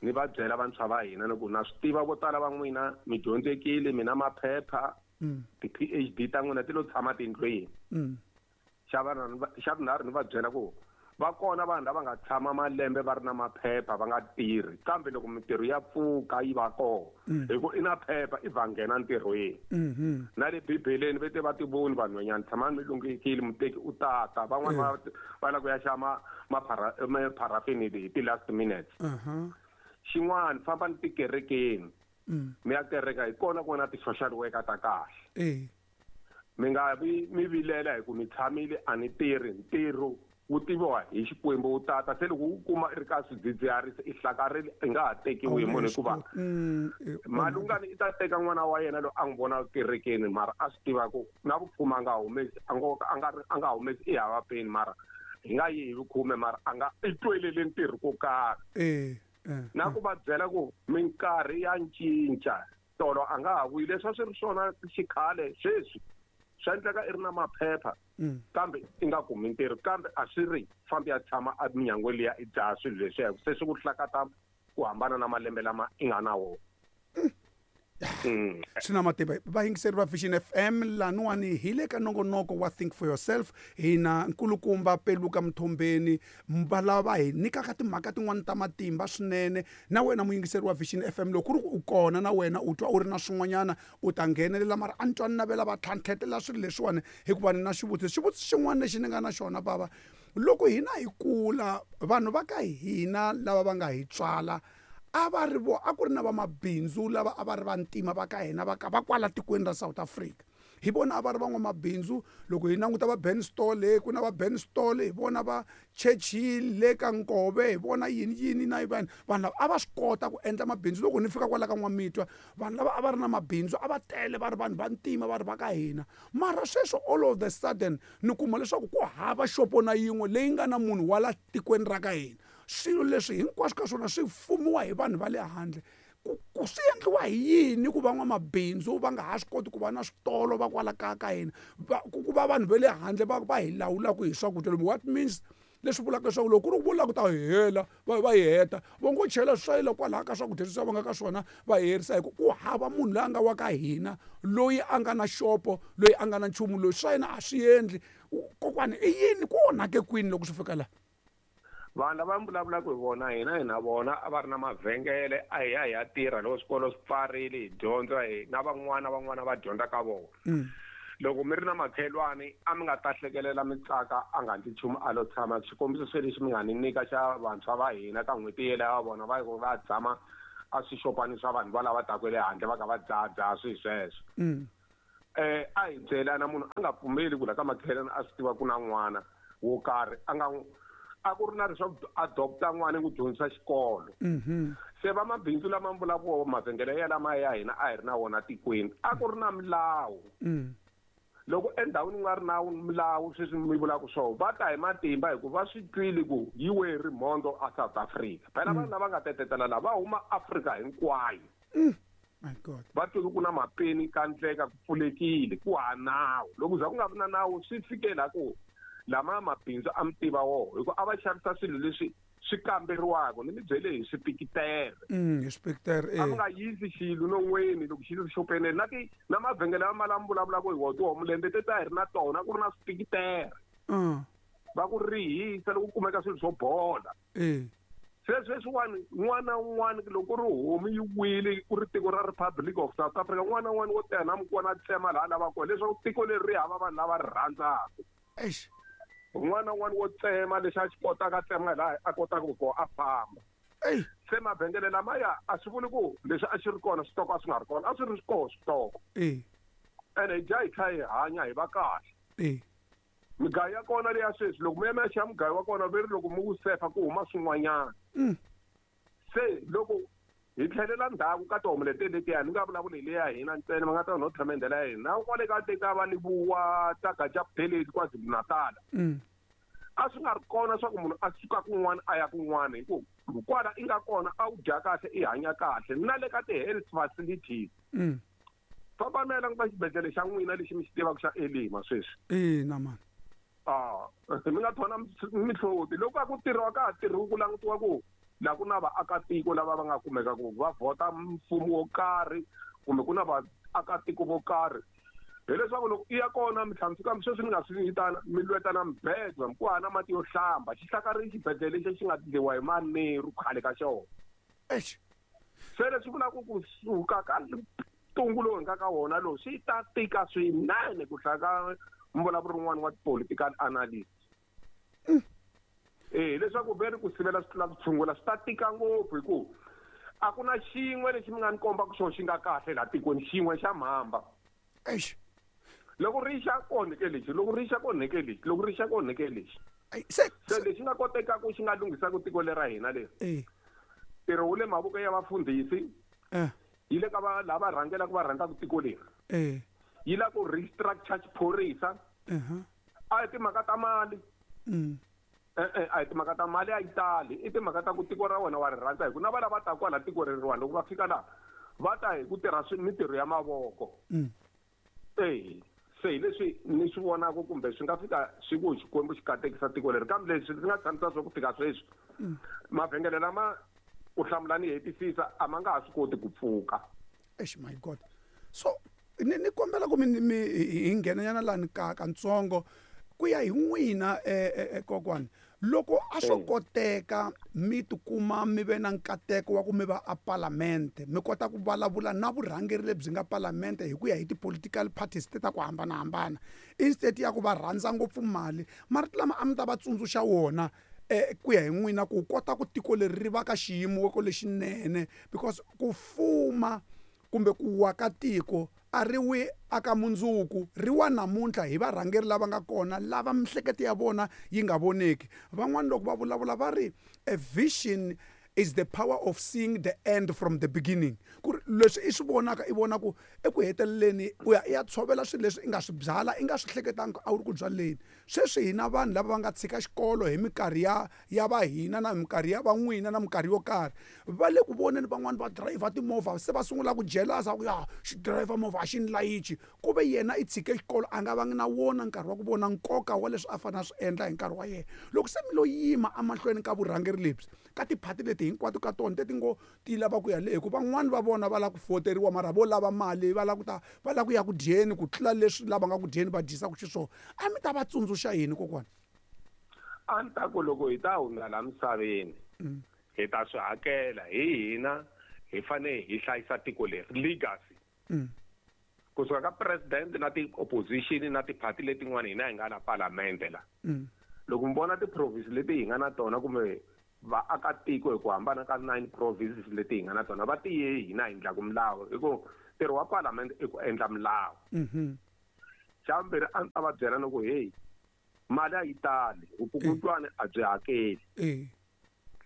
Ni va byela vantshwa va hina ni ku na swi tiva vo tala va n'wina mi dyondzekile, mi na maphepha, ti-PhD ta n'wina ti lo tshama tindlwini. Xa xa vunharhu, ni va byela ku va kona vanhu lava nga tshama malembe va ri na maphepha va nga tirhi, kambe loko mintirho ya pfuka yi va kona, hi ku i na phepha i va nghena ntirhweni. Na le Bibeleni ve te va tivoni vanhwanyana, tshamani mi lunghekile, muteki u tata. Van'wani va lava ku ya xava mapharafini hi ti-last minutes. Xin'wana, fambani tikerekeni, mi ya kereka, hi kona ku nga na ti-social worker ta kahle. Mi nga vi mi vilela hi ku mi tshamile a ni tirhi. Ntirho wu tiviwa hi Xikwembu, wu tata. Se loko wu kuma i ri ka swidzidziharisi, i hlakarile, i nga ha tekiwi hi munhu, hikuva Malungani i ta teka n'wana wa yena loyi a n'wi vona kerekeni, mara a swi tiva ku na vukhume a nga humesi, a ngo a nga ri a nga humesi, i hava peni, mara hi nga yi hi vukhume, mara a nga i twelele ntirho ko karhi. Na ku va byela ku minkarhi ya cinca, tolo a nga ha vuyi leswi a swi ri swona xikhale. Sweswi swa endleka i ri na maphepha, kambe i nga kumi ntirho, kambe a swi ri fambi ya tshama eminyangweni liya i dzaha swilo leswiya, se swi ku hlakata ku hambana na malembe lama i nga na wona. Swi na matimba. Vayingiseri va Vision FM, laniwani hi le ka nongonoko wa Think for Yourself. Hina nkulukumba Peluka Mthombeni va lava va hi nyikaka timhaka tin'wani ta matimba swinene. Na wena muyingiseri wa Vision FM, loko ku ri ku u kona na wena u twa u ri na swin'wanyana, u ta nghenelela, mara a ni twa ni navela va tlhantlhetela swilo leswiwani, hikuva ni na xivutiso. Xivutiso xin'wana lexi ni nga na xona, bava, loko hina hi kula, vanhu va ka hina lava va nga hi tswala a va ri vo a ku ri na vamabindzu lava a va ri vantima va ka hina, va ka va kwala tikweni ra South Africa, hi vona a va ri van'wamabindzu. Loko hi languta va Ben Stole, ku na va Ben Stole, hi vona va Churchill le ka Nkove, hi vona yini yini na vanhu. Vanhu lava a va swi kota ku endla mabindzu. Loko ni fika kwala ka N'wamitwa, vanhu lava a va ri na mabindzu a va tele, va ri vanhu vantima, va ri va ka hina. Mara sweswo, all of the sudden, ni kuma leswaku ku hava xopo na yin'we leyi nga na munhu wa la tikweni ra ka hina. Swilo leswi hinkwaswo ka swona swi fumiwa hi vanhu va le handle. Ku swi endliwa hi yini ku van'wamabindzu va nga ha swi koti ku va na switolo va kwala kaya ka hina, ku va vanhu va le handle va hi lawulaka hi swakudya lomu? What means, leswi vulaka leswaku loko ku ri ku vula ku ta hela va hi heta, va ngo chela swayila kwalaha ka swakudya leswi va nga ka swona, va herisa, hi ku ku hava munhu loyi a nga wa ka hina loyi a nga na xopo, loyi a nga na nchumu loyi swa yena a swi endli. Kokwani, i yini ku onhake kwini loko swi fika laha? Vanhu lava mi vulavulaka hi vona, hina hi na vona a va ri na mavhengele, a hi ya hi ya tirha loko swikolo swi pfarile, hi dyondza hi na van'wana, van'wana va dyondza ka vona. Loko mi ri na makhelwani, a mi nga ta hlekelela mi tsaka, a nga ndli nchumu, a lo tshama. Xikombiso se lexi mi nga ni nyika xa vantshwa va hina ka n'hweti yeleyo, va vona va va tshama a swixopani swa vanhu va lava taka le handle, va kha va dzahadzaha swilo sweswo. A hi byelana, munhu a nga pfumeli ku la ka makhelwani a swi tiva ku na n'wana wo karhi, a nga a ku ri na leswaku adopta n'wana ku dyondzisa xikolo. Se vamabindzu lama mi vulaka mavhengele ya lama ya hina a hi ri na wona tikweni, a ku ri na milawu. Loko endhawini ku nga ri na milawu, sweswi mi vulaka swona, va ta hi matimba, hikuva va swi twile ku yi we rimhondzo a South Africa. Phela vanhu lava nga tetetela lava va huma Afrika hinkwayo. My God. Va twile ku na mapeni ka ndleka, ku pfulekile, ku ha nawu. Loko za ku nga vi na nawu, swi fike la ku lama mabindzu a mi tiva woho, hikuva a va xavisa swilo leswi. swi kamberiwaka ni mi byele hi swipikitere. Hi swipikitere a mi nga yisi xilo non'weni loko xilo xopeneni na ti na mavhengele lama lama vulavulaka hi wona tihomulembe te ta hi ri na tona ku ri na swipikitere. Va ku rihisa loko ku kumeka swilo swo bola. Se sweswiwani n'wana un'wana loko ku ri homu yi wile ku ri tiko ra Republic of South Africa, n'wana un'wana wo teka na mukwana a tsema laha a lavaka kona leswaku tiko leri ri hava vanhu lava ri rhandzaka. Eish. Un'wana na un'wana wo tsema lexi a xi kotaka a tsema laha a kotaka ku kona a famba. Ey. Se mavhengele lamaya a swi vuli ku leswi a xi ri kona switoko a swi nga ri kona, a swi ri kona switoko. Ene hi dya hi tlhela hi hanya hi va kahle. Migayo ya kona leya sweswi loko mi ya mi ya xava mugayo wa kona ve ri loko mi wu sefa ku huma swin'wanyana. Se loko hi tlhelela ndzhaku ka tihomu leti letiya ni nga vulavuli hi leya hina ntsena va nga ta no thamendela ya hina na kwale ka teka va Lebowa ta Gaja Buthelezi KwaZulu-Natal. A swi nga ri kona swa ku munhu a suka kun'wana a ya kun'wana hi ku kwala i nga kona a wu dya kahle i hanya kahle na le ka ti-health facilities. Famba mi ya languta xibedhlele xa n'wina lexi mi xi tivaka xa Elima sweswi. Ina mani. Mi nga thona mihloti loko a ku tirhiwa ka ha tirhiwi ku langutiwa ku laha ku na vaakatiko lava va nga kumeka ku va vhota mfumo wo karhi kumbe ku na vaakatiko vo karhi, hileswaku loko i ya kona mi tlhela mi fika sweswi ni nga swi vitana mi lweta na mibedwa ku hava na mati yo hlamba xihlakari xibedhlele lexi xi nga endliwa hi maneru khale ka xona. Eish. Se leswi vulaka ku suka ka ntungu lowu hi nga ka wona lowu swi ta tika swinene ku hlaya ka mvulavuri wun'wana wa political analyst. Leswaku ve ri ku sivela swi tlula ku tshungula swi ta tika ngopfu hi ku a ku na xin'we lexi mi nga ni kombaka xona xi nga kahle laha tikweni, xin'we xa mhamba. Eish. Loko ri xa onheke lexi, loko ri xa onheke lexi, loko ri xa onheke lexi. Ai, se, Se lexi nga kotekaka xi nga lunghisaka tiko lera hina leri. Ntirho wu le mavoko ya vafundhisi. Yi le ka va lava rhangelaka va rhandzaka tiko leri. Yi lava ku restructure xiphorisa. A hi timhaka ta mali. A hi timhaka ta mali a yi tali, i timhaka ta ku tiko ra wena wa ri rhandza hi ku na va lava taka kwala tiko reriwani loko va fika laha va ta hi ku tirha mintirho ya mavoko. Se hi leswi ni swi vonaka kumbe swi nga fika swi ku Xikwembu xi katekisa tiko leri, kambe leswi ndzi nga tshamisa swo ku fika sweswi mavhengele lama ku hlamula ni hetisisa a ma nga ha swi koti ku pfuka. Eish, my God. So ni kombela ku mi hi nghenanyana laha ni ka katsongo ku ya hi n'wina kokwani, loko a swo koteka mi tikuma mi ve na nkateko wa ku mi va a parliament, mi kota ku vulavula na vurhangeri lebyi nga parliament hi ku ya hi ti-political parties te ta ku hambanahambana, instead ya ku va rhandza ngopfu mali, marito lama a mi ta va tsundzuxa wona ku ya hi n'wina ku kota ku tiko leri ri va ka xiyimo lexinene, because ku fuma kumbe ku wa ka tiko a ri wi aka mundzuku, ri wa namuntlha hi varhangeri lava nga kona lava mihleketo ya vona yi nga voneki. Van'wani loko va vulavula va ri a vision is the power of seeing the end from the beginning. Ku ri leswi i swi vonaka i vona ku eku heteleleni u ya i ya tshovela swilo leswi i nga swi byala i nga swi hleketangi a wu ri ku byaleni. Sweswi hina vanhu lava va nga tshika xikolo hi minkarhi ya va hina na minkarhi ya van'wina na minkarhi yo karhi, va le ku voneni van'wani va driver timovha se va sungula ku jelasa ku ya xi driver movha a xi ni layichi, ku ve yena i tshike xikolo a nga vangi na wona nkarhi wa ku vona nkoka wa leswi a fanele a swi endla hi nkarhi wa yena. Loko se mi lo yima emahlweni ka vurhangeri lebyi ka tiphati leti hinkwato ka tona leti ngo ti lava ku ya le, hikuva van'wani va vona va lava ku foteriwa mara vo lava mali, va lava ku ta va lava ku ya ku dyeni ku tlula leswi lava nga ku dyeni va dyisaka xiswona, a mi ta va tsundzuxa yini kokwana? A ni ta ku loko hi ta hundza laha misaveni hi ta swi hakela hi hina, hi fanele hi hlayisa tiko leri legacy. Kusuka ka president na ti-opposition na tiphati letin'wana hina hi nga la parliament la. Loko mi vona ti-province leti hi nga na tona kumbe vaakatiko hi ku hambana ka 9 provinces leti hi nga na tona va tiye hina hi endlaku milawu, hi ku ntirho wa parliament i ku endla milawu. Xa vumbirhi a ndzi ta va byela ni ku hey, mali a yi tali, vukungundzwani a byi hakeli.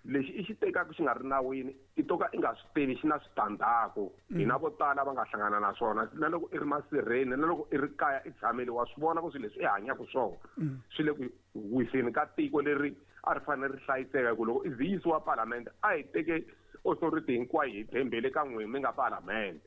Lexi i xi tekaka xi nga ri nawini i to ka i nga swi tivi xi na switandzhaku. Hina vo tala va nga hlangana na swona, na loko i ri masirheni na loko i ri kaya i tshamile wa swi vona ku swilo leswi i hanyaka swona swi le ku wiseni ka tiko leri a ri fanele ri hlayiseka. Hi ku loko i zi yisiwa parliament a hi teke authority hinkwayo hi tshembele ka n'wina mi nga parliament.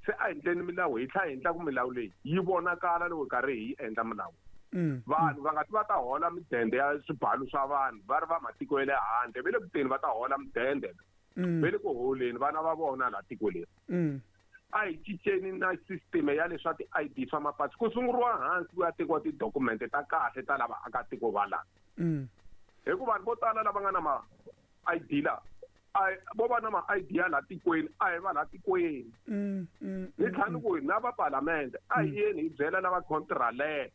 Se a hi endleni milawu, hi tlhela hi endla ku milawu leyi yi vonakala loko hi karhi hi yi endla milawu. Vanhu va nga ti va ta hola midende ya swibalu swa vanhu va ri va matiko ya le handle, va le kuteni va ta hola midende. Va le ku holeni vana va vona laha tiko leri. A hi cinceni na system ya leswa ti-ID swa mapasi, ku sunguriwa hansi ku ya tekiwa tidokumente ta kahle ta lava akatiko va laha. Hikuva vanhu vo tala lava nga na ma-ID la, vo va na ma-ID ya laha tikweni, a hi va laha tikweni. Ni tlhela ni ku na va palamende a hi yeni hi byela lava contralete.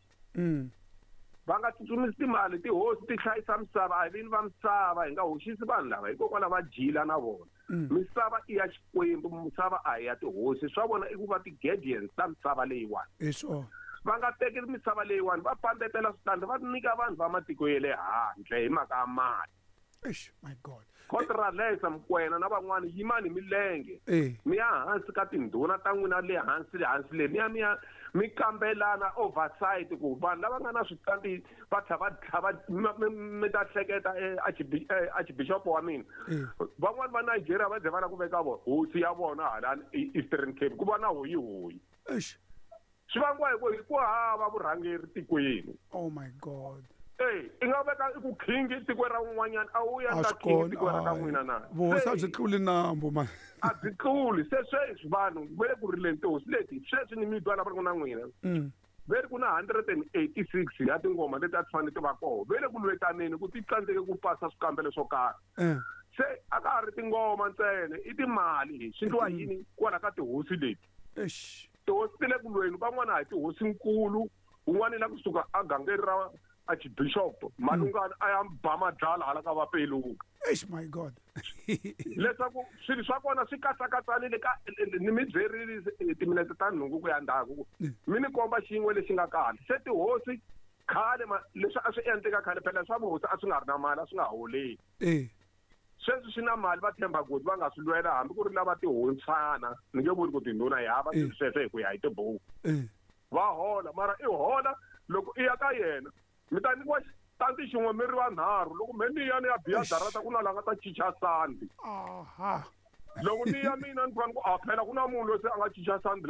Va nga tsutsumisi timali, tihosi ti hlayisa misava, a hi vini va misava, hi nga hoxisi vanhu lava hikokwalaho va jila na vona. Misava i ya Xikwembu, misava a hi ya tihosi. Swa vona i ku va ti-guardians ta misava leyiwani. Va nga teki misava leyiwani va pandetela switandi va nyika vanhu va matiko ya le handle hi mhaka ya mali. Eish, my God. Contralesa Mokoena na van'wani yimani milenge. Mi ya hansi ka tindhuna ta n'wina le hansi le hansi le, mi ya mi ya mi kambelana oversight ku vanhu lava nga na switandi va tlha va mi ta hleketa archbishop wa mina. Van'wani va Nigeria va ze va lava ku veka vona hosi ya vona hala Eastern Cape ku va na hoyi hoyi. Eish. Swi vangiwa hi ku hi ku hava vurhangeri tikweni. Oh my God. I nga veka i ku king tiko ra un'wanyana, a wu ya A ka swi king kona, tiko ra ka hayi. n'wina na? Vuhosi a Se, byi tluli nambu, man. A byi tluli. Se sweswi vanhu va le ku rileni tihosi leti, sweswi ni mi twa lava ri ku na n'wina. Va ri ku na 186 ya tingoma leti a ti fanele ti va kona. Va le ku lwetaneni ku ti tsandzeke ku pasa swikambelo swo karhi. Se a ka ha ri tingoma ntsena, i timali. Swi endliwa yini kwala ka tihosi leti? Eish. Tihosi ti le ku lweni, van'wana a hi tihosinkulu, un'wana i la kusuka a gangeni ra archbishop Malungana a ya ba madlala hala ka Vapeluka. Eish, my God. Leswaku swilo swa kona swi katsakatsanile ka ni mi byerile timinete ta nhungu ku ya ndzhaku. Mi ni komba xin'we lexi nga kahle. Se tihosi khale leswi a swi endleka khale phela swa vuhosi a swi nga ri na mali, a swi nga holeli. Sweswi swi na mali, va tshemba ku va nga swi lwela hambi ku ri lava tihosana, ni nge vuli ku tindhuna hi hava swilo sweswo hi ku ya hi tibuku. Va hola, mara i hola loko i ya ka yena. Mi ta nyikiwa xitandi xin'we mi ri vanharhu. Loko me ni ya ni ya biya darata ku na la nga ta cinca sandi. Loko ni ya mina ni fanele ku a phela ku na munhu loyi se a nga cinca sandi.